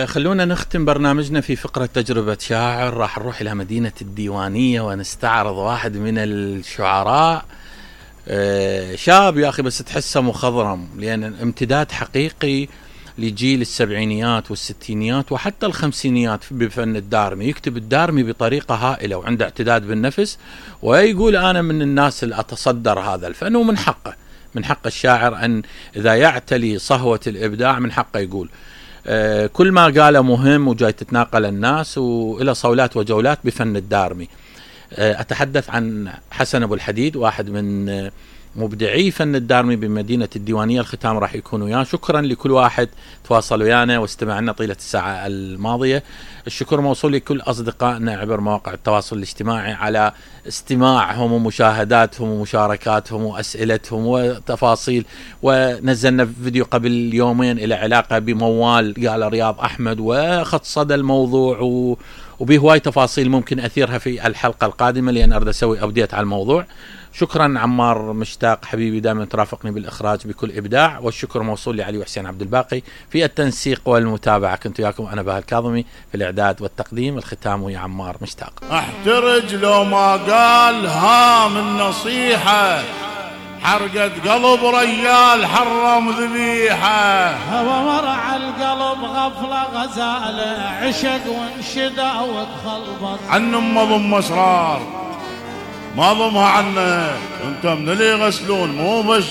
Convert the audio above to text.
خلونا نختم برنامجنا في فقرة تجربة شاعر. راح نروح إلى مدينة الديوانية ونستعرض واحد من الشعراء. شاب يا أخي بس تحسه مخضرم، لأن امتداد حقيقي لجيل السبعينيات والستينيات وحتى الخمسينيات بفن الدارمي. يكتب الدارمي بطريقة هائلة وعنده اعتداد بالنفس، ويقول أنا من الناس اللي أتصدر هذا الفن، ومن حقه، من حق الشاعر أن إذا يعتلي صهوة الإبداع من حقه يقول. كل ما قاله مهم وجاي تتناقل الناس، وإلى صولات وجولات بفن الدارمي. أتحدث عن حسن أبو الحديد، واحد من مبدعي فن الدارمي بمدينة الديوانية. الختام راح يكون وياه. شكرا لكل واحد تواصل ويانا واستمع لنا طيلة الساعة الماضية. الشكر موصول لكل أصدقائنا عبر مواقع التواصل الاجتماعي على استماعهم ومشاهداتهم ومشاركاتهم وأسئلتهم وتفاصيل. ونزلنا فيديو قبل يومين إلى علاقة بموال قال رياض أحمد، وخط صدى الموضوع وبه هواي تفاصيل ممكن أثيرها في الحلقة القادمة، لأن أريد أسوي أبديت على الموضوع. شكرا عمار مشتاق حبيبي، دائما ترافقني بالإخراج بكل إبداع. والشكر موصول لعلي وحسين عبد الباقي في التنسيق والمتابعة. كنت وياكم أنا بهاء الكاظمي في الإعداد والتقديم. الختام ويا عمار مشتاق. احترج لو ما قال ها من نصيحة، حرقت قلب ريال حرم ذبيحة. هو مرع القلب غفلة غزالة، عشق وانشدى وتخلبط. عن ضم اسرار ما ضمها عنه، انت من اللي يغسلون مو بس